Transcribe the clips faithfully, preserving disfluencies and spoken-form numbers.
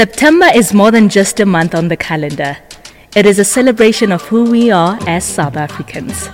September is more than just a month on the calendar. It is a celebration of who we are as South Africans.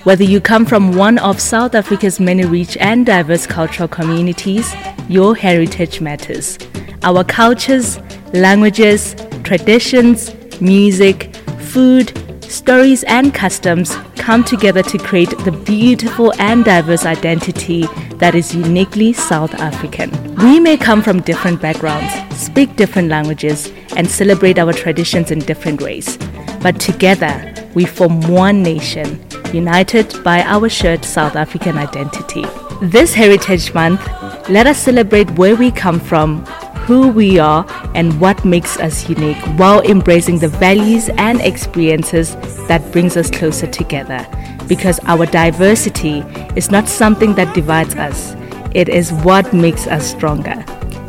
Whether you come from one of South Africa's many rich and diverse cultural communities, your heritage matters. Our cultures, languages, traditions, music, food, stories, and customs come together to create the beautiful and diverse identity that is uniquely South African. We may come from different backgrounds, speak different languages, and celebrate our traditions in different ways. But together, we form one nation, united by our shared South African identity. This Heritage Month, let us celebrate where we come from, who we are, and what makes us unique while embracing the values and experiences that brings us closer together. Because our diversity is not something that divides us, it is what makes us stronger.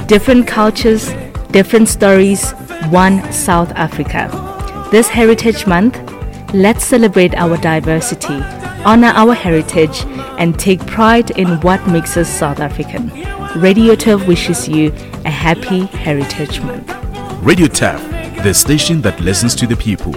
Different cultures, different stories, one South Africa. This Heritage Month, let's celebrate our diversity, honor our heritage, and take pride in what makes us South African. Radio Turf wishes you a happy Heritage Month. Radio Turf, the station that listens to the people.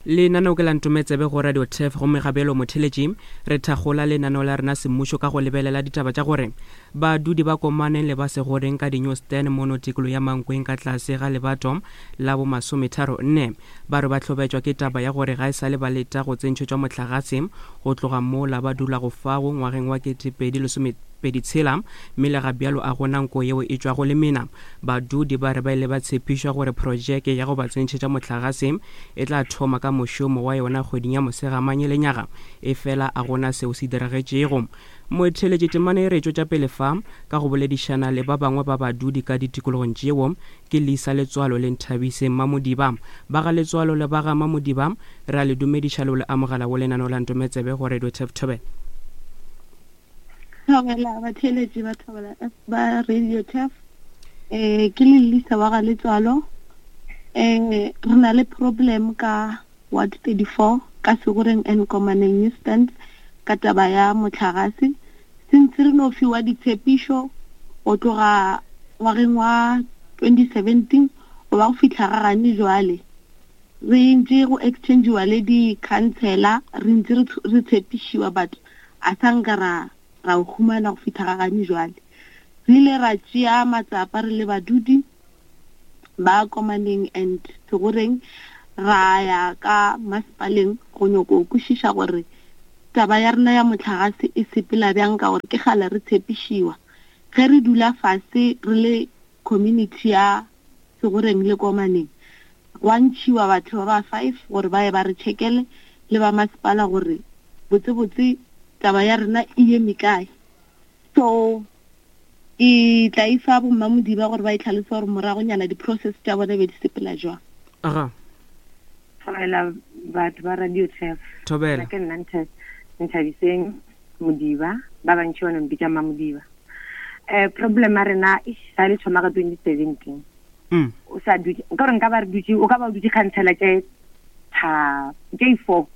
Lenaneo ke la Ntometsebe go Radio Turf, gomme gabelo motheletši re thakgola lenaneo la rena semmušo ka go lebelela ditaba tša gore badudi ba Komaneng le ba Segoreng ka di-newsstand mono tikolo ya Mankweng ka tlase ga lebato la bo masometharo nne ba re ba hlobetšwa ke taba ya gore ga e sa le ba leta go tsentšhetšwa mohlagase go tloga mola ba dulago fago ngwageng wa ketepedi lesomepedi tshela, mme le ga bjalo a gona nko yeo e tšwago le mena. Badudi ba re ba ile ba tshepišwa gore projeke ya go ba tsentšhetša mohlagase e tla thoma ka mošomo wa yona kgweding ya Mosegamanye lenyaga, e fela a gona seo se diragetšego. Motheletši temane e re tšwetša pele fa ka go boledišana le ba bangwe ba badudi ka ditikologong tšeo ke Lisa Letswalo le Nthabise Mamodiba. Ba ga Letswalo le ba ga Mamodiba re a le dumediša le le amogela go lenaneo la Ntometsebe go Radio Turf. Thobela. Thobela batheletši ba Thobela ba Radio Turf. Eh ke le Lisa wa ga Letswalo. Eh re na le problem ka Ward thirty-four ka Segoreng and Komaneng Newstand ka taba ya mohlagase. Since re no fiwa ditshepišo go tloga ngwageng wa twenty seventeen go ba go fihla ga gane jwale, re ntse go exchange-iwa le di-councillor, re ntse re tshepišiwa but a sa nka ra ra o humana go fihla ga gane jwale. Re ile ra tšea matsapa re le badudi ba Komaneng and Segoreng, ra ya ka masepaleng go nyako kwešiša gore taba ya rena ya mohlagase e sepela bjang, ka gore ke kgale re tshepišiwa. Ge re dula fase re le community ya Segoreng le Komaneng, gwa ntšhiwa batho ba ba five gore ba ye ba re checkele le ba masepala gore botsebotse taba ya rena e eme kae. So ke tla e fa bo Mmamodiba gore ba e tlhalose gore moragonyana di-process tša bona be di sepela jwang. Aga. Thobela batho ba Radio Turf. Thobela. Ke nna Nthabiseng Modiba, ba bantši ba no mpitša Mamodiba. Eh problem ya rena e sa le thoma ka twenty seventeen. Mm. O sa dutše, nka gore nka ba re dutše, o ka ba o dutše councillor tše tha tše four.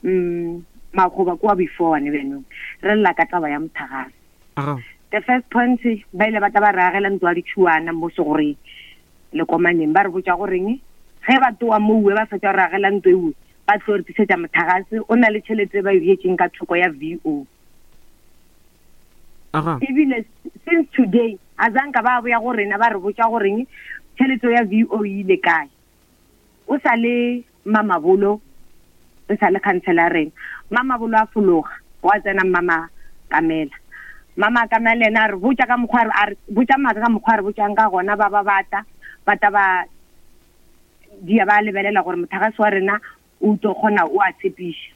Mm magoba kwa before ne beno. Re lla ka taba ya mohlagase. Aga. The first point ba ile ba tla ba re agela ntlo ya ditšhuana mo Segoreng le Komaneng, ba re botša goreng ge ba toa mouwe ba fetša go re agela ntlo ewe ba tlo re tlisetša mohlagase o na le tšhelete ba e beetšeng ka thoko ya V O. Aga. Ebile since today a zanka ba boya go rena ba re botša goreng tšhelete ya V O e ile kae. O sa le Mamabolo, o sa le councillor rena. Mamabolo a fologa, wa tsena Mama Kamela. Mama Kamela yena a re botša ka mokgwa a re botša maaka ka mokgwa a re botšang ka gona, ba ba bata, bata ba dia ba lebelela gore mohlagase wa rena o tlo kgona o a tshepiša.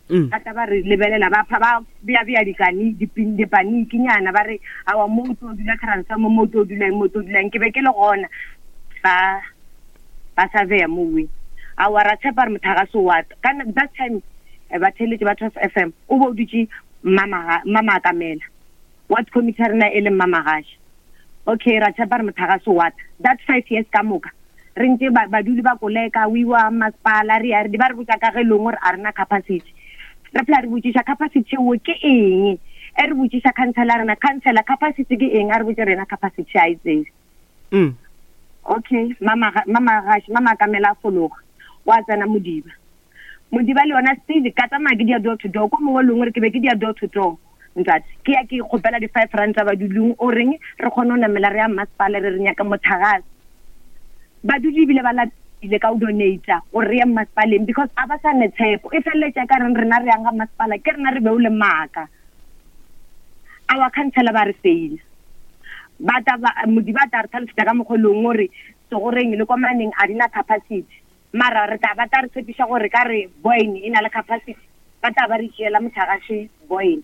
Mm. Ba tla ba re lebelela ba pha ba bea bea dikani dipanikinyana ba re awa mo o tlo dula transformer, mo o tlo dula eng, mo o tlo dula eng. Ke be ke le gona ba ba surveya mowe. Awa ra tshepa re mohlagase wa tla. Ka that time ba theletše ba Turf F M o bo o dutše Mama Mama Kamela. Ward committee rena e le Mama Gasha. Okay, ra tshepa re mohlagase wa tla. That five years ka moka re ntse baduli ba koleka o iwa masepala re ya re ba re botša ka ge lengwe gore a rena capacity. Re phela re botšiša capacity eo ke eng, E re botšiša councillor rena, councillor capacity ke eng? A re botše rena capacity a e tsebe. Mm. Okay, mama mama gash mama kamela fologa. Wa tsena Modiba. Modiba le yona still ka tsamaya ke dia door to door ko mongwe lengwe re ke be ke dia door to door. Ntate, ke ya ke kgopela di five rand tsa badulong o reng re kgone ho namela re ya masepala re re nyaka motlakase. Badudi ebile ba lapile ka o donate gore re ye masepaleng because a ba sa ne tshepo. E feleletša ka reng rena re yang ga masepala ke rena re beo le maaka. Our councillor ba re fail. Ba ta ba Modiba ta re tlhalosetsa ka mokgwa leng gore segoreng le komaneng a dina capacity. Mara re tla ba tla re tshepiša gore ka re Boyne e na le capacity. Ba tla ba re tšeela motlakase Boyne.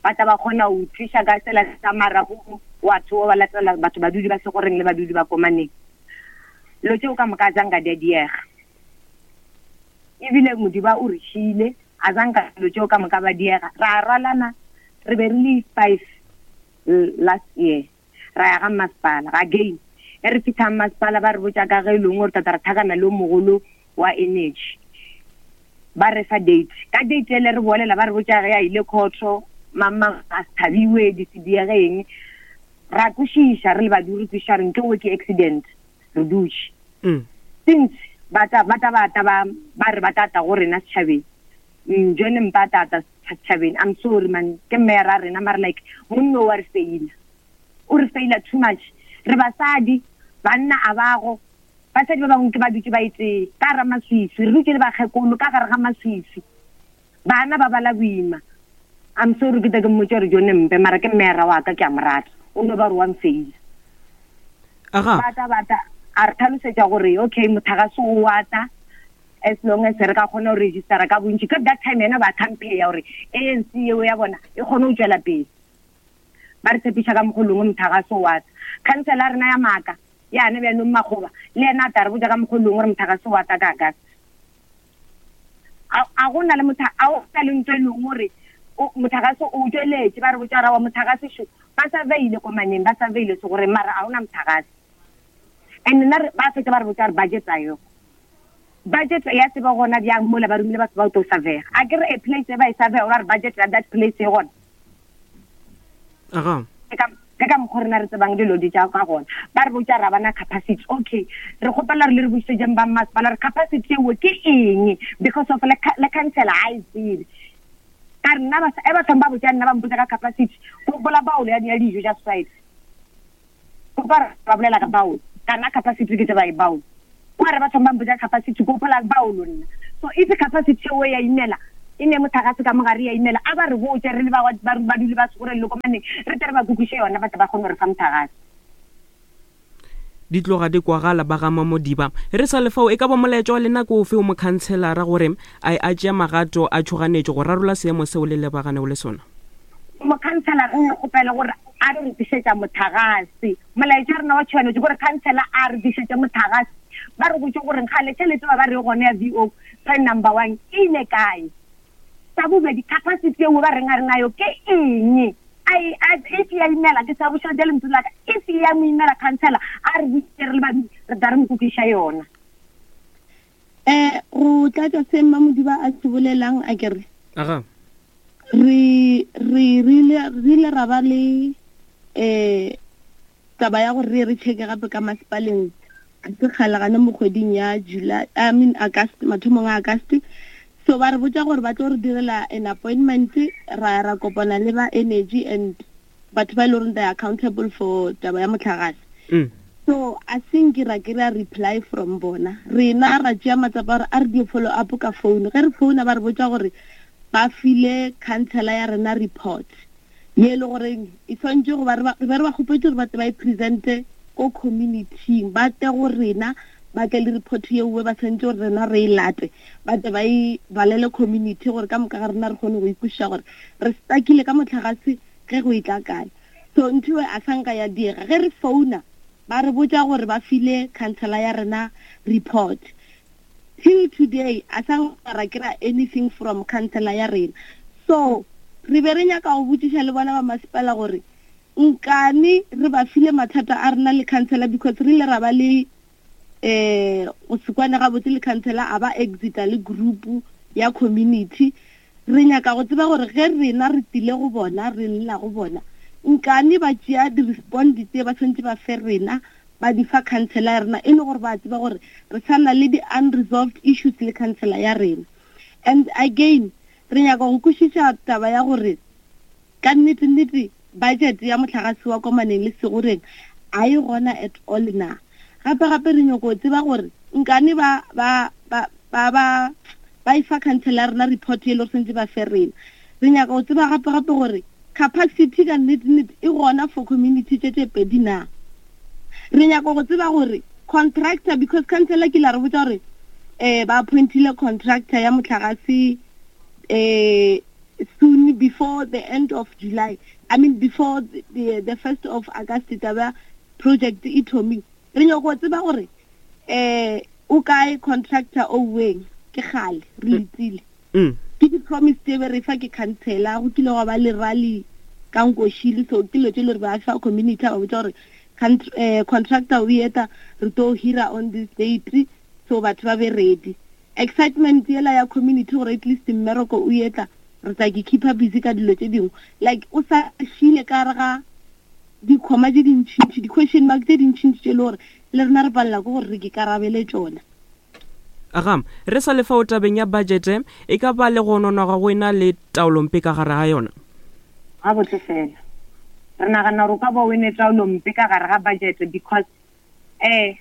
Ba tla ba kgona ho tliša ka tsela tsa marago wa tho ba latela batho badudi ba segoreng le badudi ba komaneng. Lo tseo ka moka zanga di a diega. Ebile Modiba o re šile a zanga lo tseo ka moka ba diega. Ra rwalana re be re le five last year. Ra ya ga masepala again. E re fihla masepala ba re botša ka ge e leng gore tata re thakana le o mogolo wa energy. Ba re fa date. Ka date ele re bolela ba re botša ge a ile khotho, mama a se thabiwe di se diege eng. Ra kwešiša re le badudi re kwešiša re nke o ke accident re dutše. Mm. Since ba tla ba tla ba tla ba ba re ba tla tla go rena setšhabeng. Mm, John Mpa tata setšhabeng. I'm sorry man, ke mayor a rena mara like monna wa re faila. O re faila too much. Re basadi, banna a bago. Basadi ba bangwe ke ba dutše ba itse ka ra maswiswi, re dutše le bakgekolo ka gare ga maswiswi. Bana ba bala boima. I'm sorry ke tla ke mmotša gore John Mpe mara ke mayor wa ka ke a mo rata. O no ba re wa mfeila. Aga. Ba tla ba tla a re tlhalosetša gore okay motlakase o wa tla as long as re ka kgona ho registera ka bontši. Ka that time yena ba campaign ya gore A N C eo ya bona e kgone ho tswela pele. Ba re tshepiša ka mokgwa lengwe motlakase o wa tla. Councillor rena ya maaka yane bjanong Makgoba le yena a tla re botša ka mokgwa lengwe gore motlakase o wa tla ka August. A a gona le motho a o na le ntho e leng gore motlakase o tsweletše ba re botša ra wa motlakase šo ba surveyile ko maneng ba surveyile se gore mara a hona motlakase. And nna re ba fetsa ba re botša gore budget a yo. Budget ya tseba gona bjang mola ba romile batho ba o tlo surveya. A ke re a place e ba e surveya gore budget ya that place e gona. Aga. Ke ka ke ka mokgwa rena re tsebang dilo di tša ka gona. Ba re botša ra bana capacity. Okay, re kgopela re le re bušetšeng ba masepala re capacity eo ke eng because of le le councillor ha e tsebe. Ka re nna ba e batho ba botša nna ba mpotsa ka capacity. Go gopola baolo ya ya dijo tša society. Go ba ba bolela ka baolo. Ka nna capacity ke tseba e baolo. Wa re batho ba mpotsa capacity go gopola baolo nna. So if capacity eo ya imela e ne motlakase ka mogare ya imela a ba re botše re le ba ba baduli ba Segoreng le komaneng re tle re ba kukuše yona ba tle ba kgone ho re fa motlakase. Di tloga di kwagala ba ga Mamodiba. Re sa le fao e ka ba molaetša wa lena ko ofe o mokhanselara gore a a tšea magato a tšhoganetšo go rarolla seemo seo le lebaganego le sona? Mokhanselara re kgopela gore a re re tlišetša motlakase. Molaetša rena wa tšhoganetšo gore councillor a re tlišetše motlakase. Ba re botše gore kgale tšhelete ba ba re gona ya V O plan number one e ile kae. Sa bobedi capacity eo ba reng a re nayo ke eng? Ai a if ya imela ke sa boša le ntlo la ka. If ya mo imela councillor a re botše re le badudi re tla re mo kukiša yona. Eh go tlatša se Mamodiba a se bolelang a ke re. Aga. Re re rile re ile ra ba le eh taba ya gore re re checke gape ka masepaleng se kgale gana mo kgweding ya July, I mean August, mathomong a August. So ba re botša gore ba tlo re direla an appointment ra ra kopana le ba energy and batho ba e leng gore they are accountable for taba ya motlakase. Mm. So I think ra kry-a reply from bona. Rena ra tšea matsapa gore a re di follow up ka phone. Ge re founa ba re botša gore ba file councillor ya rena report ye e le goreng e swantše go ba re ba re ba kgopetse gore ba tle ba e presente ko community-ing, ba tle go rena ba tle le report yeo ba swantše gore rena re e late, ba tle ba e balele community gore ka moka ga rena re kgone go ikwešiša gore re stuckile ka motlakase ge go e tla kae. So ntho e a sanka ya diega. Ge re founa ba re botša gore ba file councillor ya rena report. Till today a sa ra kry-a anything from councillor ya rena. So re be re nyaka go botšiša le bona ba masepala gore nkane re ba file mathata a rena le councillor because re ile ra ba le eh go se kwane gabotse le councillor a ba exita le group ya community. Re nyaka go tseba gore ge rena re tile go bona, re lla go bona, nkane ba tšea di-respond tse ba tshwanetse ba fe rena, ba di fa councillor ya rena, e le gore ba tseba gore re sa na le di-unresolved issues le councillor ya rena. And again, re nyaka go kwešiša taba ya gore ka nnete-nnete budget ya mohlagase wa Komaneng le Segoreng a e gona at all na. Gape-gape re nyaka go tseba gore nkane ba ba ba ba ba ba e fa councillor ya rena report e le gore tshwanetse ba fe rena. Re nyaka go tseba gape-gape gore capacity ka nnete-nnete e gona for community tše tše pedi na. Re nyaka go tseba gore contractor, because councillor ke la re botsa gore eh ba appointile contractor ya mohlagase eh soon before the end of July, I mean before the, the, the first of August taba project e thomile. Re nyaka go tseba gore eh o kae contractor o weng, ke kgale re letile. Mm. Ke di-promise tse be re fa ke councillor, go kile gwa ba le rally ka Nkoshile, so ke dilo tse le gore ba fa community ba botsa gore eh, contractor o eta re tlo hira on this date, so batho ba be ready. Excitement yela ya community gore at least mmereko o etla, re tla ke keep busy ka dilo tse dingwe. Like o sa šile ka re ga dikhoma tse dintšintši, di-question mark tse dintšintši tse e le gore le rena re palela ke gore re ke karabele tšona. Aga, re sa le fao tabeng ya budget, e ka ba le go nonwa go ena le taolompe ka gare ga yona? Gabotse fela. Re nagana gore o ka ba o ene taolompe ka gare ga budget because eh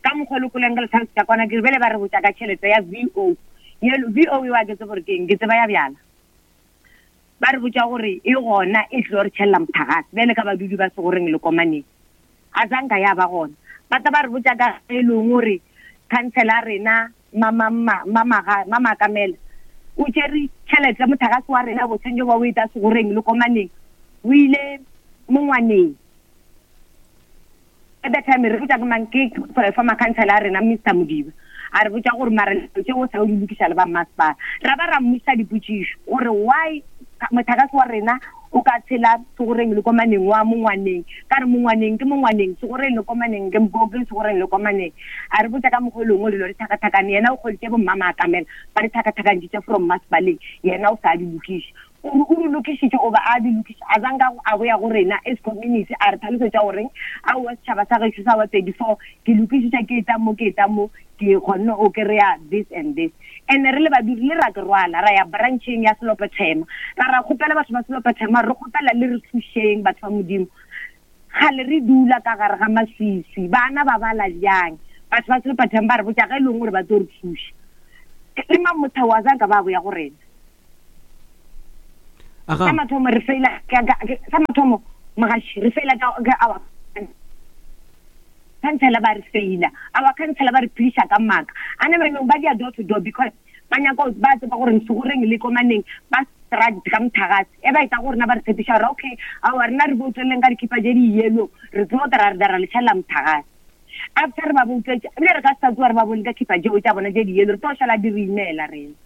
ka mokgwa le koleng ka letlhaloso ka kwana ke bele ba re botsa ka tšhelete ya V O. V O e wa ke tsebe gore ke eng, ke tseba ya bjala. Ba re botsa gore e gona e tlo re tšhelela motlakase bjale ka badudi ba Segoreng le Komaneng. A zanka ya ba gona. Ba tla ba re botsa ka e leng gore councillor rena mama mama mama Kamela o tšere tšhelete motlakase wa rena bo tshwanetse ba o eta Segoreng le Komaneng, o ile mongwaneng. At that time re botsa ke mang, ke former councillor rena Mister Modiba, a re botsa gore mara tše o sa o di lokiša le ba masepala. Ra ba ra mmuša dipotšišo gore why motlakase wa rena o ka tshela Segoreng le Komaneng wa mongwaneng, ka re mongwaneng ke mongwaneng, Segoreng le Komaneng ke ke Segoreng le Komaneng. A re botsa ka mokgwa o lengwe dilo di tlhakatlhakane, yena o kgoditše bo mmama Kamela ba di tlhakatlhakantšitše from masepaleng, yena o sa di lokiše. O di lokišitše o ba a di lokiša, a zanka a boya go rena as community a re tlhalosetša goreng aowa setšhaba sa gešo sa wa thirty-four ke lokišitše ke eta mo ke eta mo ke kgonne o kry-a this and this. And re le badudi le ra ke rwala ra ya brancheng ya Selopethema, ra ra kgopela batho ba Selopethema, re kgopela le re thušeng batho ba Modimo. Kgale re dula ka gare ga maswiswi, bana ba bala bjang? Batho ba Selopethema ba re botsa ge e leng gore ba tlo re thuša. Le mamotha wa zanka ba boya go rena. Sa mathomo re feila sa mathomo mogaši re feila ka our councillor ba re feila, our councillor ba re phediša ka maaka. A ne ba ba dia door to door because ba nyaka ba tseba gore Segoreng le Komaneng ba strike ka motlakase. E ba etsa gore rena ba re tshepiša gore okay aowa rena re bouteleng ka dikhipa tše di yellow, re tlo ra re ra le tšhelela motlakase. After re ba boutetše, ebile re ka se sa tsoga re ba bone ka khipa tšeo tša bona tše di yellow, re tlo šala di re imela rena.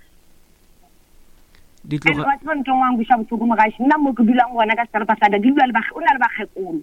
Di tloga Batho ba ntho e nngwe ya nkweša bohloko mogaši, nna mo ke dulang gona ka seterata sa ka, ke dula le o na le bakgekolo.